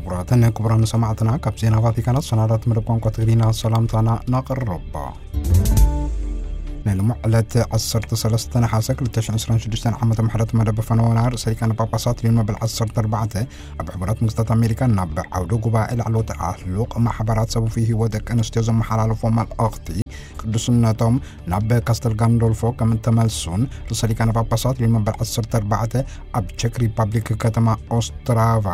ክቡራትን ክቡራን ሰማዕትና፣ ካብ ዜና ቫቲካናት ሰናዳት መደብ ቋንቋ ትግርኛ ሰላምታና ነቕርብ። ናይ ሎሚ ዕለት ዓሰርተ ሰለስተ ነሓሰ ክልተ ሽሕን ዕስራን ሽዱሽተን ዓመተ ምሕረት መደብ ፈነወና ርእሰ ሊቃነ ጳጳሳት ሊዮን መበል ዓሰርተ ኣርባዕተ ኣብ ሕቡራት መንግስታት ኣሜሪካ ናብ ዓውደ ጉባኤ ላዕለዎት ኣህሉቕ ማሕበራት ሰቡፊ ህይወት ደቂ ኣንስትዮ ዘመሓላለፎ መልእኽቲ፣ ቅዱስነቶም ናብ ካስተል ጋንዶልፎ ከም እተመልሱን ርእሰ ሊቃነ ጳጳሳት ሊዮን መበል ዓሰርተ ኣርባዕተ ኣብ ቸክ ሪፐብሊክ ከተማ ኦስትራቫ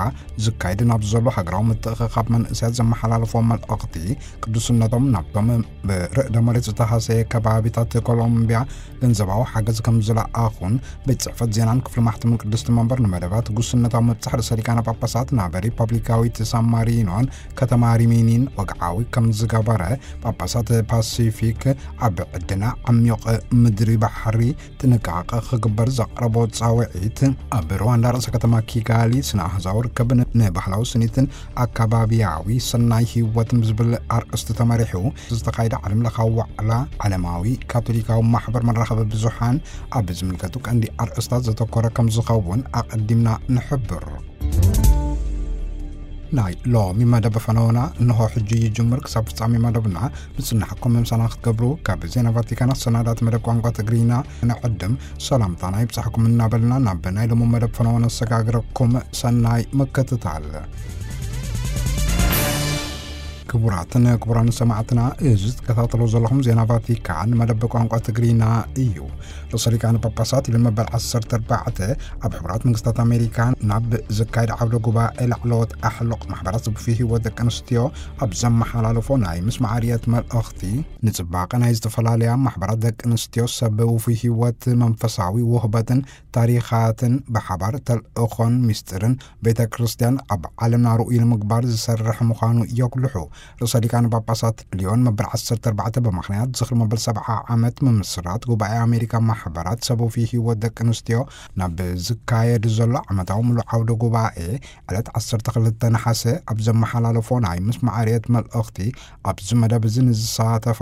ዝካየድ ናብ ዘሎ ሃገራዊ ምትእኽኻብ መንእሰያት ዘመሓላለፎ መልእኽቲ፣ ቅዱስነቶም ናብቶም ብርዕደ መሬት ዝተሃሰየ ከባቢታት ኮሎምቢያ ገንዘባዊ ሓገዝ ከም ዝለኣኹን ቤት ጽሕፈት ዜናን ክፍሊ ማሕተምን ቅድስቲ መንበር ንመደባት ጉስነታዊ ምብጻሕ ርእሰ ሊቃነ ጳጳሳት ናብ ሪፐብሊካዊት ሳን ማሪኖን ከተማ ሪሚኒን ወግዓዊ ከም ዝገበረ፣ ጳጳሳት ፓሲፊክ ኣብ ዕድና ዓሚቕ ምድሪ ባሕሪ ጥንቃቐ ክግበር ዘቕረቦ ጻውዒት፣ ኣብ ሩዋንዳ ርእሰ ከተማ ኪጋሊ ስነ ኣህዛዊ ርክብን ንባህላዊ ስኒትን ኣካባቢያዊ ሰናይ ህይወትን ብዝብል ኣርእስቲ ተመሪሑ ዝተኻየደ ዓለም ለኻዊ ዋዕላ ዓለማዊ ካቶሊካዊ ማሕበር መራኸቢ ብዙሓን ኣብ ዝምልከቱ ቀንዲ ኣርእስታት ዘተኮረ ከም ዝኸውን ኣቐዲምና ንሕብር። ናይ ሎሚ መደብ ፈነወና እንሆ ሕጂ ይጅምር። ክሳብ ፍጻሜ መደብና ምጽናሕኩም ምምሳና ክትገብሩ ካብ ዜና ቫቲካን ኣሰናዳት መደብ ቋንቋ ትግርኛ ንዕድም ሰላምታና ይብጻሕኩም እናበልና ናብ ናይ ሎሚ መደብ ፈነወ ነሰጋግረኩም። ሰናይ ምክትታል። ክቡራትን ክቡራን ሰማዕትና፣ እዚ ትከታተሉ ዘለኹም ዜና ቫቲካን መደብ ቋንቋ ትግርኛ እዩ። ርእሰ ሊቃነ ጳጳሳት ሊዮን መበል ዓሰርተ ኣርባዕተ ኣብ ሕቡራት መንግስታት ኣሜሪካ ናብ ዝካየድ ዓውደ ጉባኤ ላዕለዎት ኣሕሉቕ ማሕበራት ሰቡፊ ህይወት ደቂ ኣንስትዮ ኣብ ዘመሓላለፎ ናይ ምስማዕ ርየት መልእኽቲ፣ ንጽባቐ ናይ ዝተፈላለያ ማሕበራት ደቂ ኣንስትዮ ሰብ ውፉይ ህይወት መንፈሳዊ ውህበትን ታሪኻትን ብሓባር ተልእኾን ምስጢርን ቤተ ክርስቲያን ኣብ ዓለምና ርኡይ ንምግባር ዝሰርሕ ምዃኑ የጉልሑ። ርእሰ ሊቃነ ጳጳሳት ሊዮን መበል ዓሰርተ ኣርባዕተ ብምኽንያት ዝኽሪ መበል ሰብዓ ዓመት ምምስራት ጉባኤ ኣሜሪካ ማሕበራት ሰቡፊ ህይወት ደቂ ኣንስትዮ ናብ ዝካየድ ዘሎ ዓመታዊ ምሉእ ዓውደ ጉባኤ ዕለት ዓሰርተ ክልተ ነሓሰ ኣብ ዘመሓላለፎ ናይ ምስማዕ ርየት መልእኽቲ፣ ኣብዚ መደብ እዚ ንዝሳተፋ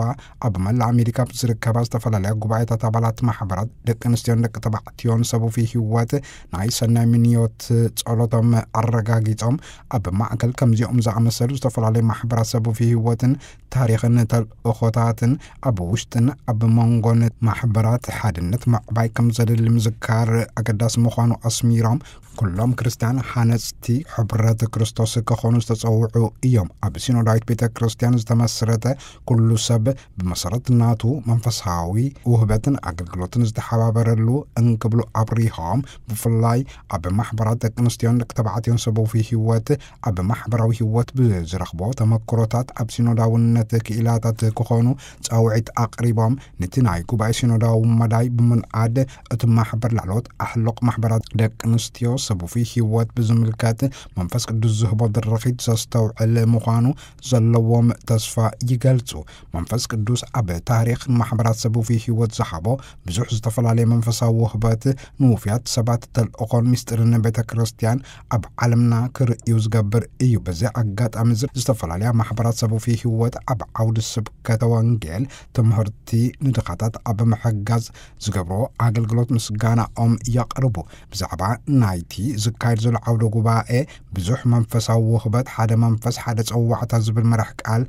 ኣብ መላእ ኣሜሪካ ኣብ ዝርከባ ዝተፈላለያ ጉባኤታት ኣባላት ማሕበራት ደቂ ኣንስትዮን ደቂ ተባዕትዮን ሰቡፊ ህይወት ናይ ሰናይ ምንዮት ጸሎቶም ኣረጋጊጾም፣ ኣብ ማእከል ከምዚኦም ዝኣመሰሉ ዝተፈላለዩ ማሕበራት ሰቡፊ ህይወትን ታሪኽን ተልእኾታትን ኣብ ውሽጥን ኣብ መንጎን ማሕበራት ሓድነት ምዕባይ ከም ዘድሊ ምዝካር ኣገዳሲ ምዃኑ ኣስሚሮም፣ ኩሎም ክርስትያን ሓነጽቲ ሕብረት ክርስቶስ ክኾኑ ዝተጸውዑ እዮም። ኣብ ሲኖዳዊት ቤተ ክርስቲያን ዝተመስረተ ኩሉ ሰብ ብመሰረት ናቱ መንፈሳዊ ውህበትን ኣገልግሎትን ዝተሓባበረሉ እንክብሉ ኣብሪሆም፣ ብፍላይ ኣብ ማሕበራት ደቂ ኣንስትዮን ደቂ ተባዕትዮን ሰቡፊ ህይወት፣ ኣብ ማሕበራዊ ህይወት ብዝረኽቦ ተመክሮታት ኣብ ሲኖዳውነት ክኢላታት ክኾኑ ጻውዒት ኣቕሪቦም፣ ነቲ ናይ ጉባኤ ሲኖዳዊ መዳይ ብምንዓድ እቲ ማሕበር ላዕለዎት ኣሕሉቕ ማሕበራት ደቂ ኣንስትዮ ሰቡፊ ህይወት ብዝምልከት መንፈስ ቅዱስ ዝህቦ ድርኺት ዘስተውዕል ምዃኑ ዘለዎም ተስፋ ይገልጹ። መንፈስ ቅዱስ ኣብ ታሪኽ ማሕበራት ሰቡፊ ህይወት ዝሃቦ ብዙሕ ዝተፈላለየ መንፈሳዊ ውህበት ንውፍያት ሰባት ተልእኾን ምስጢርን ቤተ ክርስቲያን ኣብ ዓለምና ክርእዩ ዝገብር እዩ። በዚ ኣጋጣሚ እዚ ዝተፈላለያ ማሕበራት ሰቡፊ ህይወት ኣብ ዓውዲ ስብከተ ወንጌል፣ ትምህርቲ፣ ንድኻታት ኣብ ምሕጋዝ ዝገብሮ ኣገልግሎት ምስጋናኦም የቕርቡ። ብዛዕባ ናይቲ ዝካየድ ዘሎ ዓውደ ጉባኤ ብዙሕ መንፈሳዊ ውህበት፣ ሓደ መንፈስ፣ ሓደ ጸዋዕታ ዝብል መራሕ ቃል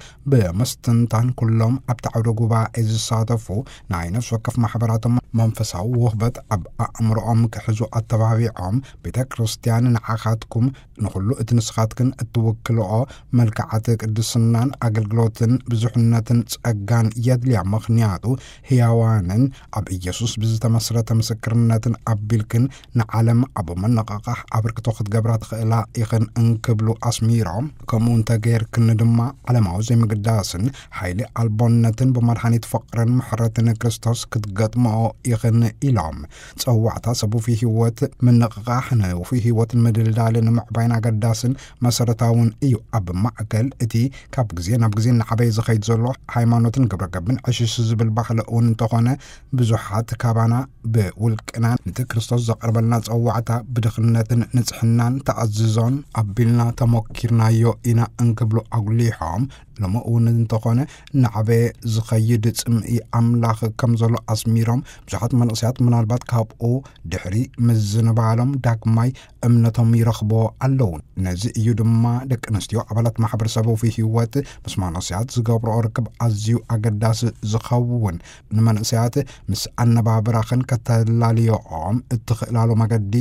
ብምስትንታን፣ ኩሎም ኣብቲ ዓውደ ጉባኤ ዝሳተፉ ናይ ነፍሲ ወከፍ ማሕበራቶም መንፈሳዊ ውህበት ኣብ ኣእምሮኦም ክሕዙ ኣተባቢዖም፣ ቤተ ክርስቲያን ንዓኻትኩም ንኹሉ እቲ ንስኻትክን እትውክልኦ መልክዓት ቅድስናን ኣገልግሎትን ብዙሕነትን ጸጋን የድልያ። ምኽንያቱ ህያዋንን ኣብ ኢየሱስ ብዝተመስረተ ምስክርነትን ኣቢልክን ንዓለም ኣብ ምንቕቓሕ ኣበርክቶ ክትገብራ ትኽእላ ኢኽን እንክብሉ ኣስሚሮም፣ ከምኡ እንተገይርክን ድማ ዓለማዊ ዘይምግዳስን ሓይሊ ኣልቦነትን ብመድሓኒት ፍቕርን ምሕረትን ክርስቶስ ክትገጥምኦ ኢኽን ኢሎም። ጸዋዕታ ሰብ ውፉይ ህይወት ምንቕቓሕ ንውፉይ ህይወትን ምድልዳልን ምዕባይን ኣገዳስን መሰረታውን እዩ። ኣብ ማእከል እቲ ካብ ግዜ ናብ ግዜ እናዓበየ ዝኸይድ ዘሎ ሃይማኖትን ግብረ ገብን ዕሽሽ ዝብል ባህሊ እውን እንተኾነ፣ ብዙሓት ካባና ብውልቅና ነቲ ክርስቶስ ዘቕርበልና ጸዋዕታ ብድኽነትን ንጽሕናን ተኣዝዞን ኣቢልና ተሞኪርናዮ ኢና እንክብሉ ኣጉሊሖም፣ ሎሚ እውን እንተኾነ፣ እናዓበየ ዝኸይድ ጽምኢ ኣምላኽ ከም ዘሎ ኣስሚሮም፣ ብዙሓት መንእሰያት ምናልባት ካብኡ ድሕሪ ምዝንባሎም ዳግማይ እምነቶም ይረኽቦ ኣለዉ። ነዚ እዩ ድማ ደቂ ኣንስትዮ ኣባላት ማሕበረሰባዊ ህይወት ምስ መንእሰያት ዝገብርኦ ርክብ ኣዝዩ ኣገዳሲ ዝኸውን። ንመንእሰያት ምስ ኣነባብራኽን ከተላልዮኦም እትኽእላሉ መገዲ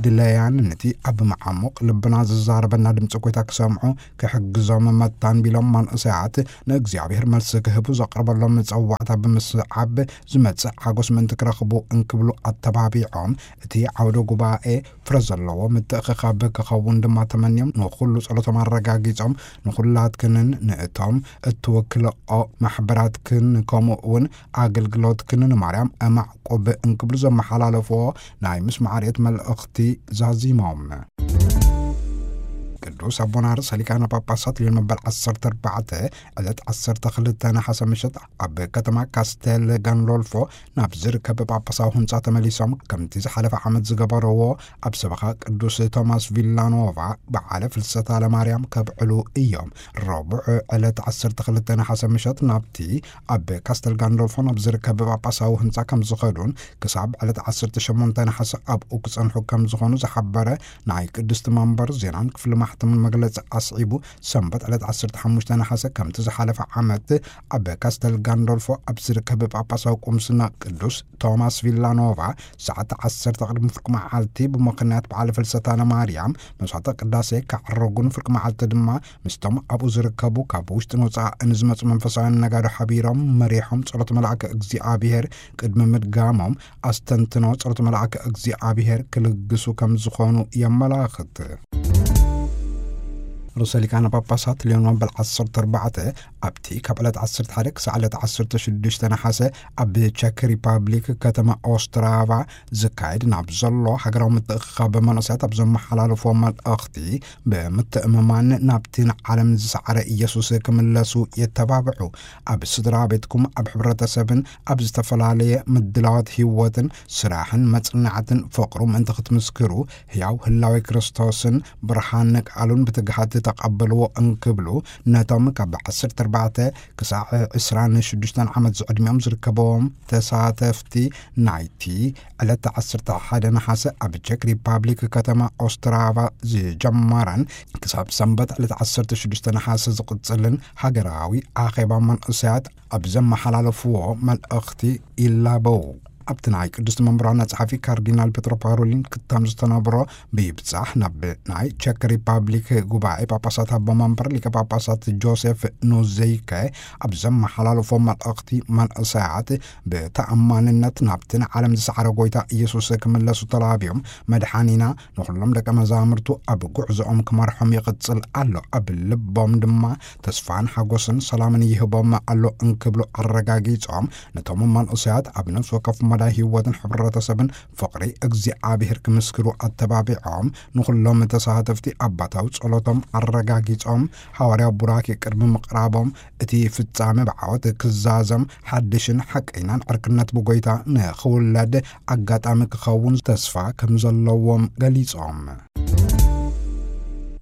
ድለያን፣ ነቲ ኣብ መዓሙቕ ልብና ዝዛረበና ድምፂ ጎይታ ክሰምዑ ክሕግዞም መታን ቢሎም፣ መንእሰያት ንእግዚኣብሔር መልሲ ክህቡ ዘቕርበሎም መጸዋዕታ ብምስዓብ ዝመጽእ ሓጎስ ምእንቲ ክረኽቡ እንክብሉ ኣተባቢዖም፣ እቲ ዓውደ ጉባኤ ፍረ ዘለዎ ምትእኽኻብ ክኸውን ድማ ተመንዮም፣ ንኹሉ ጸሎቶም ኣረጋጊጾም፣ ንኹላትክንን ንእቶም እትወክልኦ ማሕበራትክን ከምኡ እውን ኣገልግሎትክን ንማርያም እማዕቁብ እንክብሉ ዘመሓላለፍዎ ናይ ምስማዕ ርየት መልእኽቲ ዛዚሞም። ቅዱስ ኣቦና ርእሰ ሊቃነ ጳጳሳት ሊዮን መበል ዓሰርተ ኣርባዕተ ዕለት ዓሰርተ ክልተ ነሓሰ ምሸት ኣብ ከተማ ካስቴል ጋንዶልፎ ናብ ዝርከብ ጳጳሳዊ ህንጻ ተመሊሶም፣ ከምቲ ዝሓለፈ ዓመት ዝገበረዎ ኣብ ሰበኻ ቅዱስ ቶማስ ቪላኖቫ በዓለ ፍልሰታ ለማርያም ከብዕሉ እዮም። ረቡዕ ዕለት ዓሰርተ ክልተ ነሓሰ ምሸት ናብቲ ኣብ ካስተል ጋንዶልፎ ናብ ዝርከብ ጳጳሳዊ ህንጻ ከም ዝኸዱን ክሳብ ዕለት ዓሰርተ ሸሞንተ ነሓሰ ኣብኡ ክጸንሑ ከም ዝኾኑ ዝሓበረ ናይ ቅድስቲ መንበር ዜናን ክፍሊ ማሕተምን መግለጺ ኣስዒቡ፣ ሰንበት ዕለት ዓሰርተ ሓሙሽተ ነሓሰ ከምቲ ዝሓለፈ ዓመት ኣብ ካስተል ጋንዶልፎ ኣብ ዝርከብ ጳጳሳዊ ቁምስና ቅዱስ ቶማስ ቪላኖቫ ሰዓት ዓሰርተ ቅድሚ ፍርቂ መዓልቲ ብምኽንያት በዓለ ፍልሰታ ለማርያም መስዋዕተ ቅዳሴ ከዕረጉን ፍርቂ መዓልቲ ድማ ምስቶም ኣብኡ ዝርከቡ ካብ ውሽጥን ወጻእን ዝመጹ መንፈሳውያን ነጋዶ ሓቢሮም መሪሖም ጸሎት መልኣከ እግዚኣብሔር ቅድሚ ምድጋሞም ኣስተንትኖ ጸሎት መልኣከ እግዚኣብሔር ክልግሱ ከም ዝኾኑ የመላኽት። ርእሰ ሊቃነ ጳጳሳት ሊዮን መበል ዓሰርተ ኣርባዕተ ኣብቲ ካብ ዕለት ዓሰርተ ሓደ ክሳዕ ዕለት ዓሰርተ ሽዱሽተ ነሓሰ ኣብ ቸክ ሪፓብሊክ ከተማ ኦስትራቫ ዝካየድ ናብ ዘሎ ሃገራዊ ምትእኽኻብ መንእሰያት ኣብ ዘመሓላለፍዎ መልእኽቲ፣ ብምትእምማን ናብቲ ንዓለም ዝሰዓረ ኢየሱስ ክምለሱ የተባብዑ። ኣብ ስድራ ቤትኩም፣ ኣብ ሕብረተሰብን ኣብ ዝተፈላለየ ምድላዋት ህይወትን ስራሕን መጽናዕትን ፍቕሩ ምእንቲ ክትምስክሩ፣ ህያው ህላዌ ክርስቶስን ብርሃን ቃሉን ብትግሃት ተቐበልዎ እንክብሉ፣ ነቶም ካብ ዓሰርተ ኣርባዕተ ክሳዕ ዕስራን ሽዱሽተን ዓመት ዝዕድሚኦም ዝርከብዎም ተሳተፍቲ ናይቲ ዕለት ዓሰርተ ሓደ ነሓሰ ኣብ ቸክ ሪፓብሊክ ከተማ ኦስትራቫ ዝጀመረን ክሳብ ሰንበት ዕለት ዓሰርተ ሽዱሽተ ነሓሰ ዝቕጽልን ሃገራዊ ኣኼባ መንእሰያት ኣብ ዘመሓላለፍዎ መልእኽቲ ይላበው። ኣብቲ ናይ ቅድስቲ መንበር ዋና ጸሓፊ ካርዲናል ፔትሮ ፓሮሊን ክታም ዝተነብሮ ብይብጻሕ ናብ ናይ ቸክ ሪፓብሊክ ጉባኤ ጳጳሳት ኣቦ መንበር ሊቀ ጳጳሳት ጆሴፍ ኖዘይከ ኣብ ዘመሓላለፎ መልእኽቲ፣ መንእሰያት ብተኣማንነት ናብቲ ንዓለም ዝሰዓረ ጎይታ ኢየሱስ ክምለሱ ተላብዮም፣ መድሓኒና ንኹሎም ደቀ መዛሙርቱ ኣብ ጉዕዞኦም ክመርሖም ይቕጽል ኣሎ፣ ኣብ ልቦም ድማ ተስፋን ሓጎስን ሰላምን ይህቦም ኣሎ እንክብሉ ኣረጋጊጾም፣ ነቶም መንእሰያት ኣብ ነፍሲ ወከፍ መዳይ ህይወትን ሕብረተሰብን ፍቕሪ እግዚኣብሔር ክምስክሩ ኣተባቢዖም፣ ንኹሎም ተሳተፍቲ ኣባታዊ ጸሎቶም ኣረጋጊጾም፣ ሃዋርያዊ ቡራኬ ቅድሚ ምቕራቦም፣ እቲ ፍጻመ ብዓወት ክዛዘም፣ ሓድሽን ሓቀይናን ዕርክነት ብጎይታ ንኽውለድ ኣጋጣሚ ክኸውን ተስፋ ከም ዘለዎም ገሊጾም።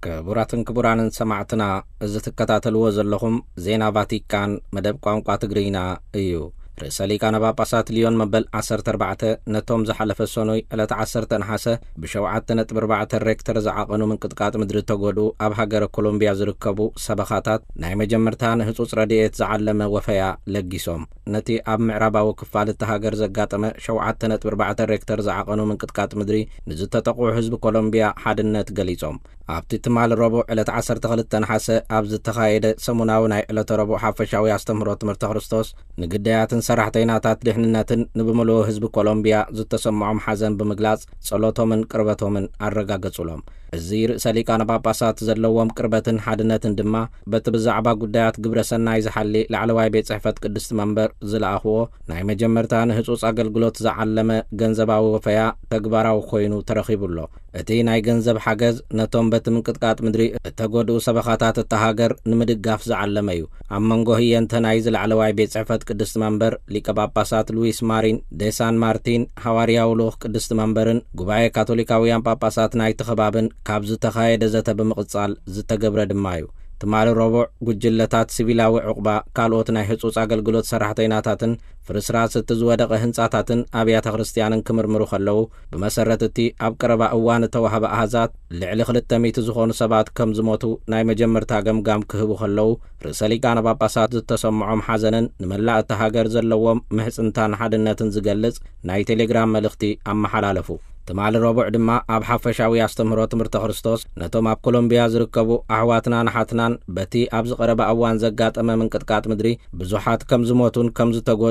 ክቡራትን ክቡራንን ሰማዕትና፣ እዚ ትከታተልዎ ዘለኹም ዜና ቫቲካን መደብ ቋንቋ ትግርኛ እዩ። ርእሰ ሊቃነ ጳጳሳት ሊዮን መበል ዓሰርተ ኣርባዕተ ነቶም ዝሓለፈ ሰኑይ ዕለት ዓሰርተ ነሓሰ ብሸውዓተ ነጥቢ ኣርባዕተ ሬክተር ዝዓቐኑ ምንቅጥቃጥ ምድሪ ተጎድኡ ኣብ ሃገረ ኮሎምቢያ ዝርከቡ ሰበኻታት ናይ መጀመርታ ንህጹጽ ረድኤት ዝዓለመ ወፈያ ለጊሶም። ነቲ ኣብ ምዕራባዊ ክፋል እቲ ሃገር ዘጋጠመ ሸውዓተ ነጥቢ ኣርባዕተ ሬክተር ዝዓቐኑ ምንቅጥቃጥ ምድሪ ንዝተጠቕዑ ህዝቢ ኮሎምቢያ ሓድነት ገሊጾም። ኣብቲ ትማል ረቡዕ ዕለት ዓሰርተ ክልተ ነሓሰ ኣብ ዝተኻየደ ሰሙናዊ ናይ ዕለተ ረቡዕ ሓፈሻዊ ኣስተምህሮ ትምህርተ ክርስቶስ፣ ንግዳያትን ሰራሕተይናታት ድሕንነትን ንብምሉኡ ህዝቢ ኮሎምቢያ ዝተሰምዖም ሓዘን ብምግላጽ፣ ጸሎቶምን ቅርበቶምን ኣረጋገጹሎም። እዚ ርእሰ ሊቃነ ጳጳሳት ዘለዎም ቅርበትን ሓድነትን ድማ፣ በቲ ብዛዕባ ጉዳያት ግብረ ሰናይ ዝሓሊ ላዕለዋይ ቤት ጽሕፈት ቅድስቲ መንበር ዝለኣኽዎ ናይ መጀመርታ ንህጹጽ ኣገልግሎት ዝዓለመ ገንዘባዊ ወፈያ ተግባራዊ ኮይኑ ተረኺቡ ኣሎ። እቲ ናይ ገንዘብ ሓገዝ ነቶም በቲ ምንቅጥቃጥ ምድሪ እተጎድኡ ሰበኻታት እታ ሃገር ንምድጋፍ ዝዓለመ እዩ። ኣብ መንጎ ህየንተ ናይዚ ላዕለዋይ ቤት ጽሕፈት ቅድስቲ መንበር ሊቀ ጳጳሳት ሉዊስ ማሪን ዴ ሳን ማርቲን፣ ሃዋርያዊ ልኡኽ ቅድስቲ መንበርን ጉባኤ ካቶሊካውያን ጳጳሳት ናይቲ ከባብን ካብ ዝተኻየደ ዘተ ብምቕጻል ዝተገብረ ድማ እዩ። ትማሊ ረቡዕ፣ ጉጅለታት ሲቪላዊ ዕቑባ፣ ካልኦት ናይ ህጹጽ ኣገልግሎት ሰራሕተይናታትን ፍርስራስ እቲ ዝወደቐ ህንጻታትን ኣብያተ ክርስትያንን ክምርምሩ ከለዉ፣ ብመሰረት እቲ ኣብ ቀረባ እዋን እተዋህበ ኣሃዛት፣ ልዕሊ ክልተ ሚእቲ ዝኾኑ ሰባት ከም ዝሞቱ ናይ መጀመርታ ገምጋም ክህቡ ከለዉ፣ ርእሰ ሊቃነ ጳጳሳት ዝተሰምዖም ሓዘንን ንመላእ እታ ሃገር ዘለዎም ምሕጽንታን ሓድነትን ዝገልጽ ናይ ቴሌግራም መልእኽቲ ኣመሓላለፉ። ትማሊ ረቡዕ ድማ ኣብ ሓፈሻዊ ኣስተምህሮ ትምህርተ ክርስቶስ ነቶም ኣብ ኮሎምቢያ ዝርከቡ ኣሕዋትናን ኣሓትናን በቲ ኣብ ዝቐረበ እዋን ዘጋጠመ ምንቅጥቃጥ ምድሪ ብዙሓት ከም ዝሞቱን ከም ዝተጎድኡን